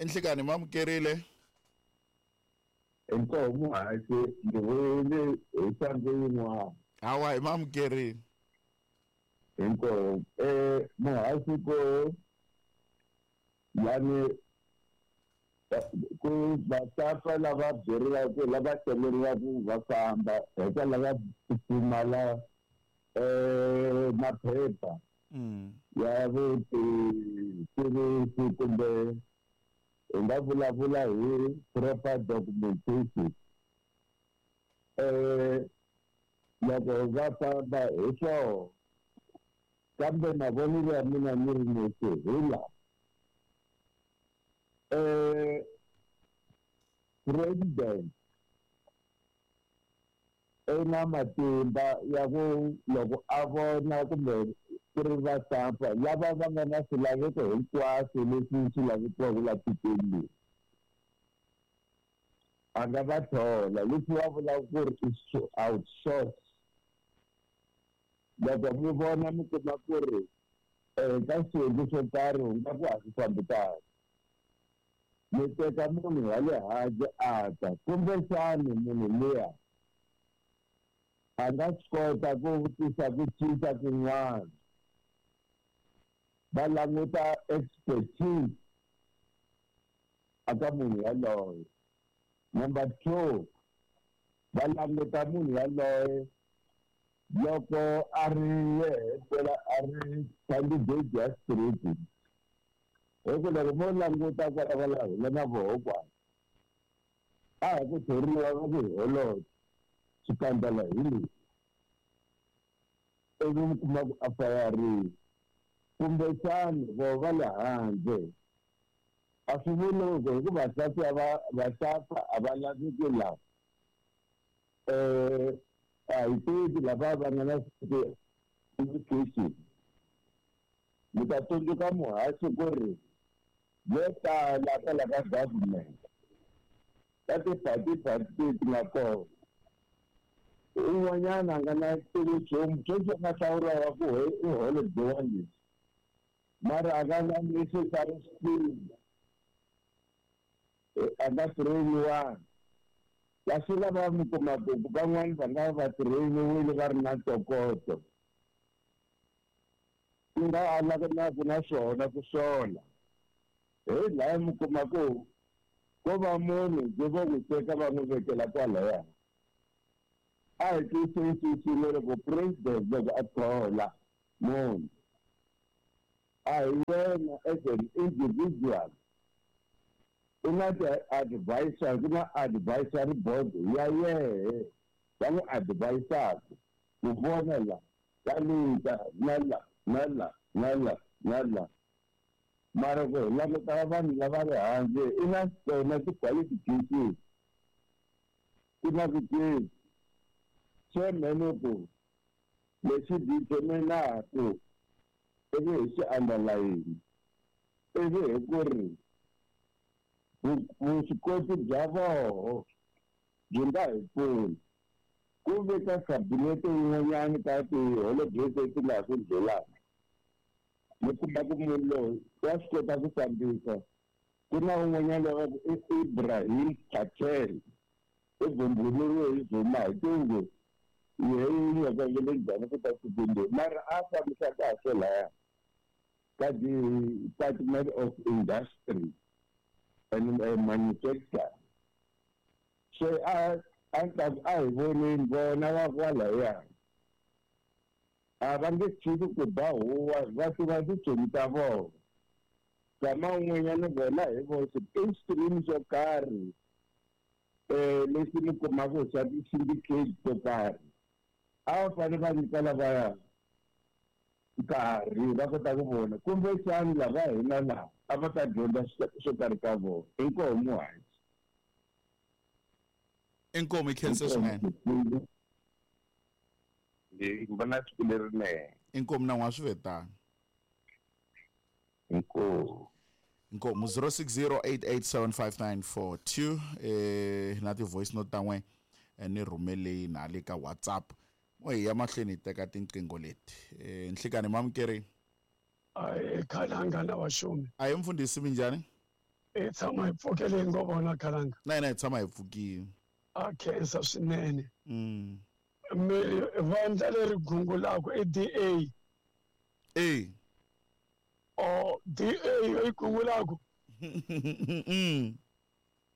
Nhlikani mamukerile. Inkomu muhaxi, ndzi vuyile hi xandla yin'wana. Hawa, hi mamukerile. Inkomu. Muhaxi ko yani ku vasafa lava byeriwaka lava celeriwaka va famba hikwalaho va pfumala maphepha ya vutitivisi kumbe hi nga vulavula hi proper documentation. Loko va famba hi swona, kambe mavonelo ya mina ni ri nexe hi lawa. President i na matimba ya ku loko a vona kumbe ku ri vasafa lava va nga na swilaveko hinkwaswo leswi swi lavekiwaka la tikweni leri, a nga va thola. Leswi va vulaka ku ri i outsource. Loko mi vona mi kuma ku ri ka swiyenge swo karhi u nga ku a swi fambi kahle, mi teka munhu wa le handle a ta, kumbexani munhu luya a nga swi kota ku tisa ku cinca kun'wana. Va languta expertise aka munhu yaloye. Number 2, va languta munhu yaloye loko a ri yehe fela a ri candidate ya street. Hi ku loko mo languta kwala va la hina na voho kwala, a hi ku thoriwa va ku hi holobye xikandza hi leswi, ivi mi kuma ku a fayarile. Kumbexani voho va le handle a swi vuli ku hi ku vasati a va vasafa a va laveki laha. A hi tivi lava va nga na education. Mi ta tsundzuka muhaxi ku ri vo tala kwala ka government ka ti-party leti nga kona, un'wanyana a nga na tivi nchumu, sweswi a nga hlawuriwa ku i holobye wa leswi, mara a nga na necessary skill, a nga trainiwanga. Kasi lava mi kumaka ku van'wani va nga va trainiwile va ri na ntokoto, ku nga alaka na swona ku sola. Hi laha mi kuma ku ko va munhu ndzi vo n'wi teka va n'wi vekela kwalaya. A hi twisisi loko president loko a thola munhu, a hi yena as an individual, u na ti-advisor, ku na advisory board ya yehe va n'wi advisaka ku vona la ka lita na la na la na la na la. Mara ku hi languta vanhu lava le handle, i na tona ti-qualifications, ku na ku tivi. Chairman ku lexi determinaku ivi hi xi underline, ivi hi ku ri vuswikoti bya voho byi nga hi pfuni. Ku ve ka kabinete yin'wanyana ka tiholobye leti nga ha ku ndlulaka, mi kuma ku munhu loyi wa swi kota ku fambisa. Ku na un'wanyana loyi va ku i Ibrahim Patel, i vumbuluriwe hi Zuma hi tingu yehe yi nyakangile njhani ku ta tikweni leri, mara a fambisa kahle laya ka Department of Industry and Manufacturing. Se a a a hi voneni vona va kwalaya, a va nge tshiki ku ba huwa, va tiva tintsumi ta vona. Nkama wun'wanyana vona hi voxe i stream xo karhi lexi mi kumaka xa ti-syndicate to karhi, a va fanele va nyika lavaya nkarhi va kota ku vona kumbexani lava hina laha a va ta dyondza swo karhi ka vona. Inkomu muhaxi. Inkomu, hi khensa swinene. Ndzi vona siku lerinene. Inkomu na n'wa swi ve tano. Inkomu. Inkomu 0608875942 na ti-voice note ta n'we ni rhumeleni na le ka WhatsApp. Mo hi ya mahlweni hi teka tinqingho leti. Nhlikani mamukeri. Ai khalanga na wa xumi. A hi mfundhisi minjhani? Hi tshama hi pfukele hi ngo vona khalanga. Na hina hi tshama hi pfukile. A khensa swinene. Mi ri vandla leri gungulaka i DA. E. Oh, DA yo yi gungulaka.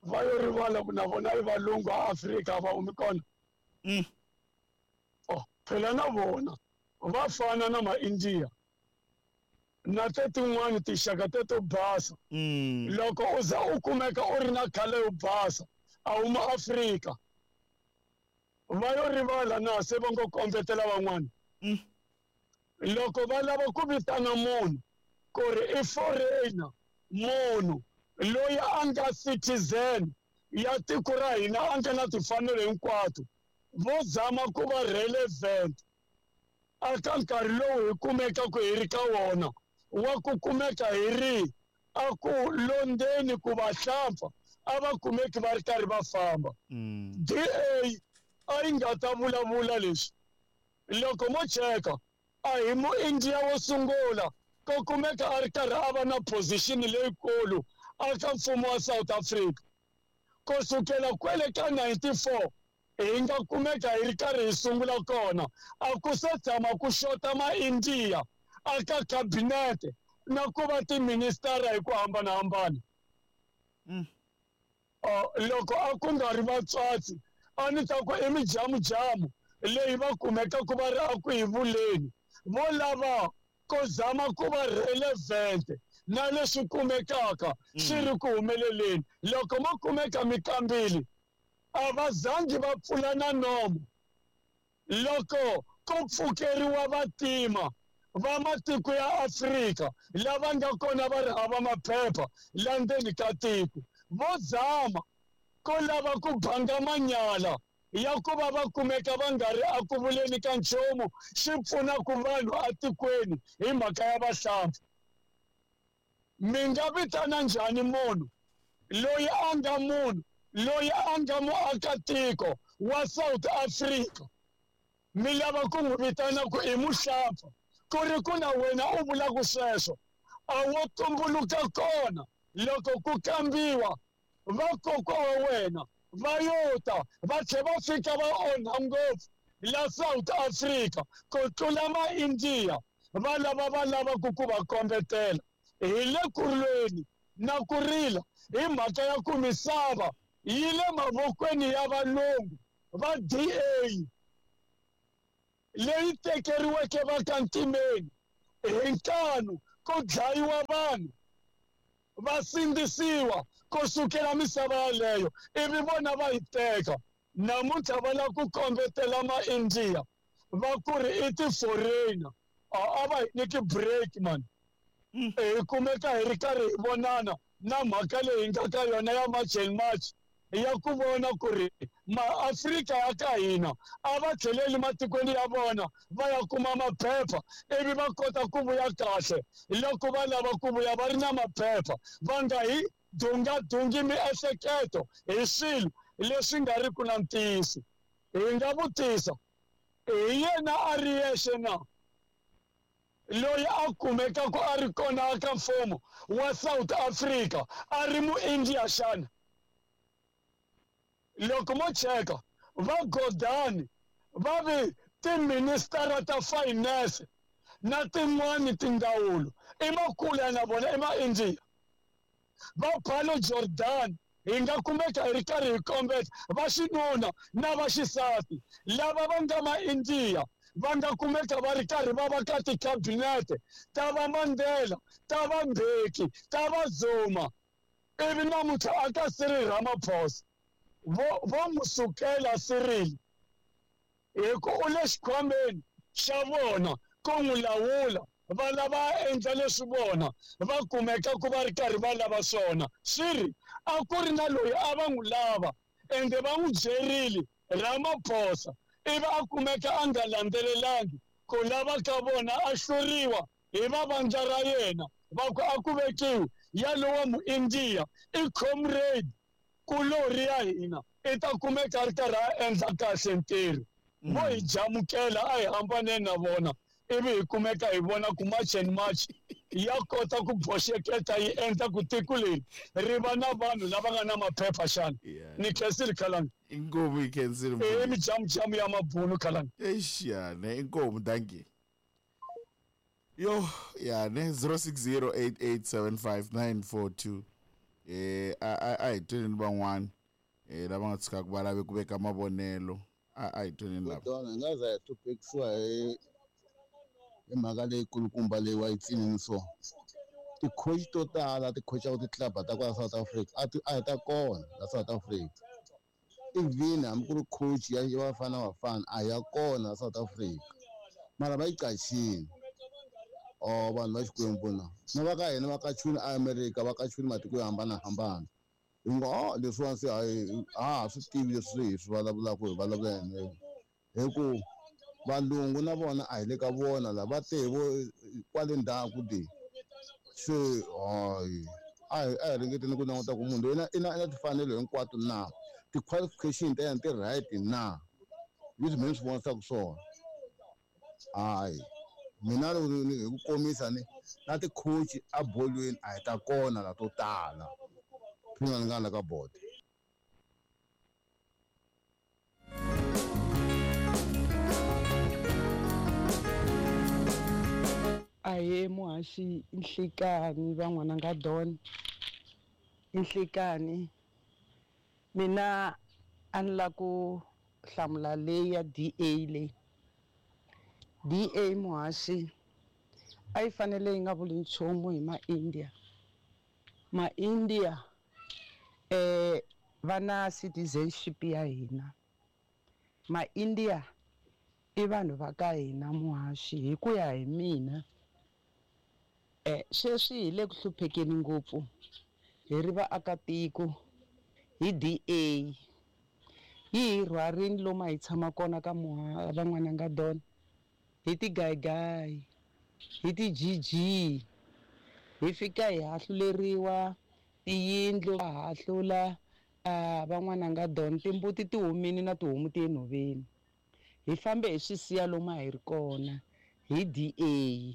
Va yo rivala ku na vona i valungu a Afrika va humi kona. Oh, phela na vona va fana na ma-India na te tin'wani tinxaka te to basa. Loko u za u kumeka u ri na khale yo basa a huma Afrika, va yo rivala na se va ngo kombetela van'wana. Loko va lava ku vitana munhu ku ri i foreigner, munhu loyi a nga citizen ya tiko ra hina a nga na timfanelo hinkwato, vo zama ku va relevant aka nkarhi lowu hi kumekaka hi ri ka wona wa ku kumeka hi ri a ku londzeni ku va hlampfa a va kumeki va ri karhi va famba. DA a yi nga ta vulavula leswi. Loko mo cheka a hi mu-India wo sungula ko kumeka a ri karhi a va na position leyikulu aka mfumo wa South Africa. Ku sukela kwele ka 94 hi nga kumeka hi ri karhi hi sungula kona, a ku se tshama ku xota ma-India aka cabinet na ku va tiministara hi ku hambanahambana. Loko a ku nga ri vatswatsi a ni ta ku i mijamujamu leyi va kumekaka va ri a ku hi vuleni, vo lava ko zama ku va relevant na leswi kumekaka swi ri ku humeleleni. Loko mo kumeka mikambili a va zangi va pfula na nomo. Loko ko pfukeriwa vatima va matiko ya Afrika lava nga kona va ri hava maphepha la ndzeni ka tiko, vo zama ko lava ku banga manyala ya ku va va kumeka va nga ri a ku vuleni ka nchumu xi pfunaka vanhu atikweni hi mhaka ya vahlampfa. Mi nga vitana njhani munhu loyi a nga munhu loyi a nga muakatiko wa South Africa, mi lava ku n'wi vitana ku i muhlampfa, ku ri ku na wena u vulaka sweswo? A wo tumbuluka kona loko ku kambiwa vakokwa wa wena va yo ta va tlhe va fika va onha ngopfu la South Africa ku tlula ma-India va lava va lavaka ku va kombetela. Hi le ku lweni na ku rila hi mhaka ya ku misava yi le mavokweni ya valungu va DA leyi tekeriweke va ka ntimeni hi nkanu ku dlayiwa vanhu va sindzisiwa ku sukela misava yaleyo ivi vona va yi teka. Namuntlha va lava ku kombetela ma-India va ku ri i ti-foreigner, a va hi nyiki break man. Hi kumeka hi ri karhi hi vonana na mhaka leyi hi nga ka yona ya March and March ya ku vona ku ri maAfrika ya ka hina a va tlheleli matikweni ya vona va ya kuma maphepha ivi va kota ku vuya kahle loko va lava ku vuya va ri na maphepha, va nga hi dungadungi miehleketo hi swilo leswi nga ri ku na ntiyiso. Hi nga vutisa hi yena a ri yexe na loyi a kumekaka a ri kona aka mfumo wa South Africa a ri mu-India xana? Loko mo cheka va Gordhan va vi tiministara ta finance na tin'wani tindzawulo i makulu ya na vona i ma-India. Va Pallo Jordan hi nga kumeka hi ri karhi hi kombeta va xinuna na va xisati lava va nga ma-India va nga kumeka va ri karhi va va ka tikhabinete ta va Mandela, ta va Mbeki, ta va Zuma, ivi namuntlha a ka Cyril Ramaphosa vo n'wi sukela Cyril hi ku u le xikhwameni xa vona ku n'wi lawula, va lava a endla leswi vona va kumeka ku va ri karhi va lava swona. Swi ri a ku ri na loyi a va n'wi lava ende va n'wi byerile Ramaphosa, ivi a kumeka a nga landzelelangi ku lava ka vona, a hluriwa hi va vandla ra yena va ku a ku vekiwi yalowa mu-India i comrade kulori ya hina i ta kumeka a ri karhi a endla kahle ntirho. Vo hi jamukela a hi hambaneni na vona ivi hi kumeka hi vona ku March and March Ya kota ku boxeketa yi endla ku tiko leri ri va na vanhu lava nga na maphepha xana? Ni khensile Khalanga. Inkomu, yi khensile. I mijamujamu ya mabunu, Khalanga. Eish, ya ne, inkomu, dankie. Yo, ya ne, 0608875942. A hi tweni van'wana lava nga tshikaka va lave ku veka mavonelo. A hi tweni lava. Kodwana hi nga za hi hluphekisiwa hi mhaka leyi kulukumba leyi wa yi tsinini. So ti-coach to tala ti coachaka ti-club ta kwala South Africa a hi ta kona la South Africa. Even hambi ku ri coach ya Bafana Bafana a ya kona South Africa, mara va yi qachini. Oh, vanhu va Xikwembu na na va ka hina va kachuni America, va kachuni matiko yo hambanahambana. Hi ngo, oh, leswiwani se a ha swi tivi leswi hi swi vulavulaka, hi vulavula yini, hi ku valungu na vona a hi le ka vona la va te vo kwale ndzhaku de. Se hayi, a hi ringeteni ku languta ku munhu loyi i na timfanelo hinkwato na ti-qualification ta yena ti right na, leswi mina swi vonisaka swona. Hayi, mina loko hi ku komisa ni na ti-coach a bolweni a hi ta kona la to tala. Phina ni nga la ka board. Ahee muhaxi, nhlikani van'wana nga don, nhlikani. Mina a ni la ku hlamula leyi ya DA. Leyi DA, muhaxi, a yi fanele yi nga vuli nchumu hi ma-India. Ma-India va na citizenship ya hina. Ma-India i vanhu va ka hina, muhaxi. Hi ku ya hi mina, sweswi hi le ku hluphekeni ngopfu hi ri vaakatiko hi DA. Yi hi rhwarini lomu a hi tshama kona ka van'wana nga don, hi tigayigayi, hi ti-GG, hi fika hi hahluleriwa tiyindlu, va hahlula van'wana nga don. Timbuti ti humini na tihomu ti enhoveni, hi fambe hi swi siya lomu a hi ri kona hi DA.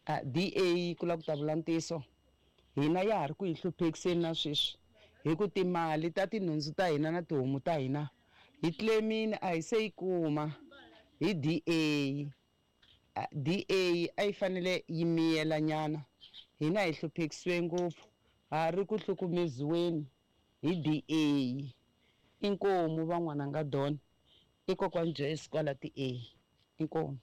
DA, ku lava ku ta vula ntiyiso, hina ya ha ri ku hi hluphekiseni na sweswi, hi ku timali ta tinhundzu ta hina na tihomu ta hina hi claimini, a hi se yi kuma hi DA. DA a yi fanele yi miyela nyana. Hina hi hluphekisiwe ngopfu, ha ri ku hlukumeziweni hi DA. Inkomu van'wana nga don, i kokwani Joyce kwala ti A. Inkomu.